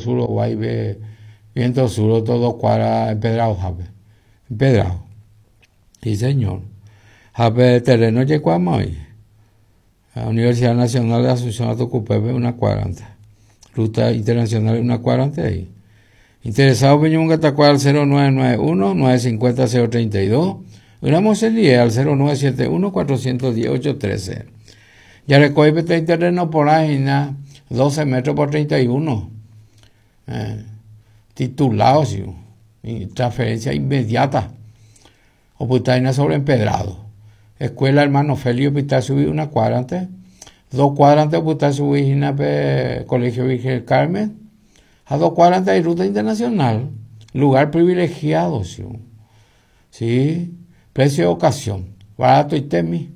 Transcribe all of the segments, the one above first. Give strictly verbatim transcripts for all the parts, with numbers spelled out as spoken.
Sur, Guaybe, Viento Sur, todo cuadra empedrado, jape. Empedrado. Sí, señor. Jape terreno yecuama hoy. La Universidad Nacional de Asunción Atucupepe, una cuadrante. Ruta internacional, una cuadrante ahí. Interesado Peñón al cero nueve nueve uno, nueve cinco cero, cero treinta y dos. Gramos el I E al cero nueve siete uno, cuatrocientos diez, ocho trece. Ya recoge este terreno por ahí, na, doce metros por treinta y uno. Eh, titulado, sí, y transferencia inmediata. Oputaina sobre empedrado. Escuela Hermano Félix, Hospital subir una cuadrante. Dos cuadrantes, Hospital subir una, Colegio Virgen del Carmen. A dos cuadrantes hay ruta internacional. Lugar privilegiado, sí. Sí. Precio de ocasión. Barato y temi.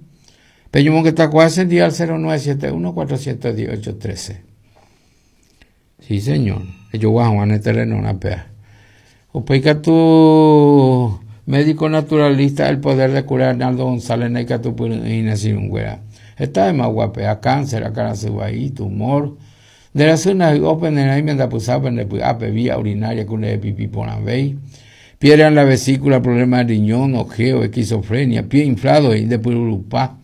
Peñumón que está cuadra día al cero nueve siete uno, cuatrocientos diez, ocho trece. Sí, señor. Yo voy a jugar en el terreno una pea. Upeca tu médico naturalista, el poder de curar Arnaldo González, Neca tu Inés. Esta es más guapea, cáncer, a tumor. De la zona de Open en ahí me da pusado en el ape vía urinaria con el pipí por la vei. Piedra en la vesícula, problema de riñón, ojeo, esquizofrenia, pie inflado y de purupá.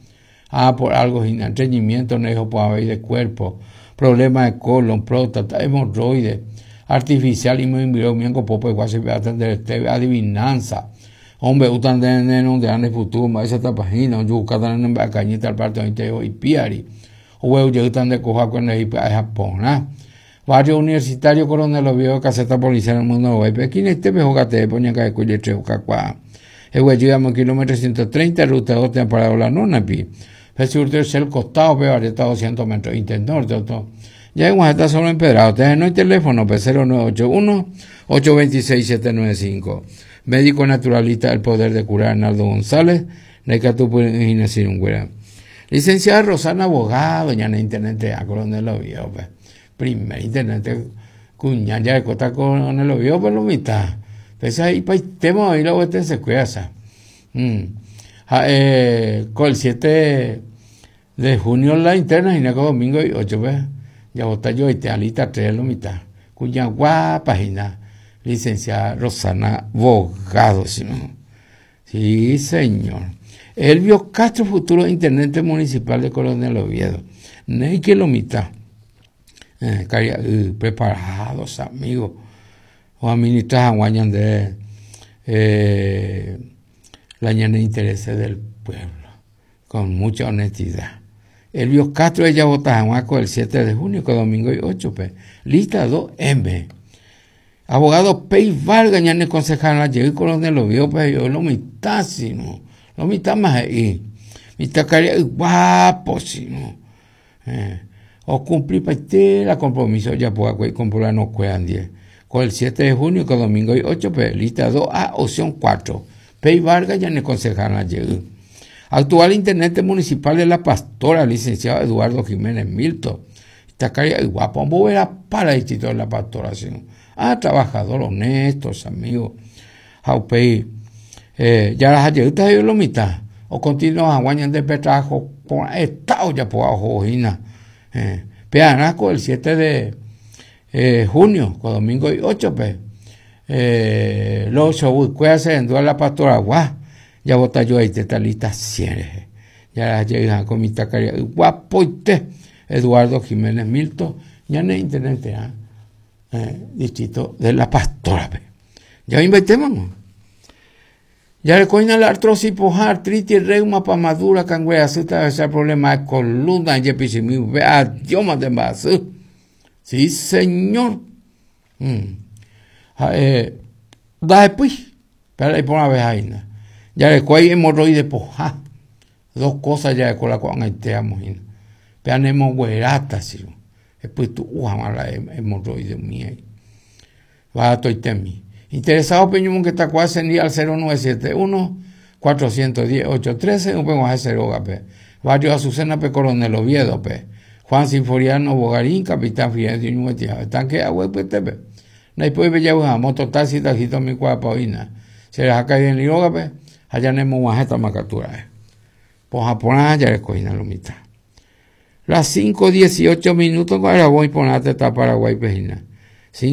Ah, por algo sin estreñimiento, no dijo por haber de cuerpo, problema de colon, próstata, hemorroides, artificial y muy miengo popo igual se va a atender este adivinanza. Hombre, utan de neno de ane futuro, esa tapajina, yo cada en cañita al parte de y piari. O yo utan de coja con el Japón, ¿ah? Barrio Universitario Coronel Oviedo, caseta policial en el mundo web. Aquí en este mejor de poña que cuye tres cacua. El güey llegamos kilómetro ciento treinta, ruta dos, te parado la nona pi. El costado, pero está doscientos metros, internorte, otro. Ya en está solo empedrado. Ustedes no hay teléfono, pues cero nueve ocho uno, ocho veintiséis, siete nueve cinco. Médico naturalista, el poder de curar, Arnaldo González, Necatupu Inés. Licenciada Rosana Abogado, ya en internet, a Coronel Oviedo, pues. Primer internet, cuña, ya de costa Coronel Oviedo, pues lo mitad. Pues ahí, pa' tema, ahí la vuelta se cuida, mm. Ah, eh, con el siete de junio la interna, y domingo y ocho, pues. Ya bota yo y te alita tres lo mitad. Cuña guapa, página. Licenciada Rosana Bogado, ¿sí, no? Sí, señor. Elvio Castro, futuro intendente municipal de Coronel Oviedo. No que lo mitad. Eh, eh, preparados, amigos. O administrar a de eh, la ñana intereses del pueblo. Con mucha honestidad. Elvio Castro, ella vota a el siete de junio, con domingo y ocho, pues. Lista dos M. Abogado Pey Vargas, ya no concejal, la llegué Coronel Oviedo, pues yo lo mitad, sino. Lo mitad más ahí. Mitad caría guapo, sino. Eh, o cumplir para la compromiso, ya puedo comprar no cuedan diez. Con el siete de junio, con domingo y ocho, pues lista dos A, opción cuatro. Pey Vargas, ya no concejal, la llegué. Actual intendente municipal de La Pastora, licenciado Eduardo Jiménez Milton. Está caría guapo, era para el distrito de La Pastora, sino. Ah, trabajador honesto, amigos. Jaupei. Eh, ya las ayudas de lo mitad. O continúa aguañan de trabajo con estado ya por abajo, eh, Peanaco el siete de eh, junio, con domingo y ocho, pues. Eh, los ocho, se en La Pastora, guau. Ya bota yo ahí, te está lista cien. Ya las llegan con mi tacaría. Guapo y te. Eduardo Jiménez Milton, ya no es intendente, ¿eh? Eh, distrito de La Pastora. Pe. Ya invertimos. Ya le coña la artrosis, poja, artritis, reuma, pamadura, cangüea, asusta, ese problema de columna, yepisimi, adiós, más de más. Sí, señor. Mm. Eh, da después, pero ahí por una vez ahí, ¿no? Ya le coña hemorroides, poja. Dos cosas ya de cola con el te amo, pero anemo güerata, sí. Después tú, uja, la hemorroides mía. Va a toitemi. Interesado Peñumón que está cual al cero nueve siete uno, cuatrocientos diez, ocho trece, un pengo cero pe. Barrio Azucena pe Coronel Oviedo pe. Juan Sinforiano Bogarín, capitán Fidencio Ñuetia. Tanque agua pues tepe. No hay puede bella una moto taxi taxito mi cuapa oina. Se les ha caído en Liroga pe. Allá nemo guajeta macatura. Poja por ya le cogina lo mitad. Las cinco dieciocho minutos para voy por la teta Paraguay pejina.